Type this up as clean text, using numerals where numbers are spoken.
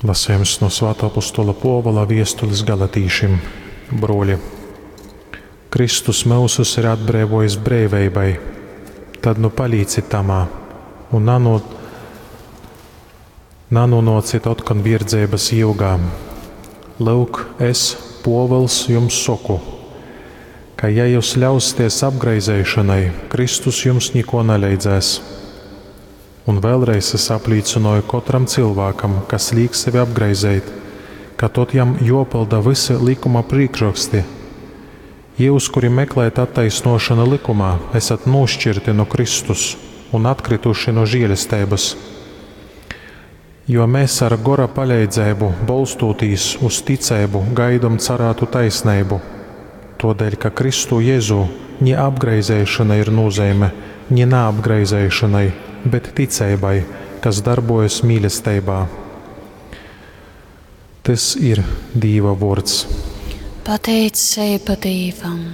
Lasejums no Svātō apostola Pōvula viestulis galatīšim. Brōli, Kristus myusus ir atbreivōjis breiveibai, tad nu palīcit tamā un nanūnōcit otkon vierdzeibas jyugā. Lyuk, es, Pōvuls, jums soku, ka, ja jyus ļausieties apgraizeišonai, Kristus jums nikō naleidzēs. Un vēlreiz es aplīcynoju kotram cylvākam, kas līk sevi apgraizeit, ka tod jam jōpylda vysi lykuma prīkšroksti. Jyus, kuri meklējat attaisnōšonu lykumā, esat nūškirti nu Kristus un atkrytuši nu žēlesteibas. Jo mēs ar gora paleidzeibu, bolstūtīs uz ticeibu, gaidom carātu taisneibu. Tōdēļ, ka Kristū Jezū ni apgraizeišona ir nūzeime, ni naapgraizeišonai, bet ticeibai, kas darbojas mīlesteibā. Tys ir Dīva vōrds. Pateiceiba Dīvam.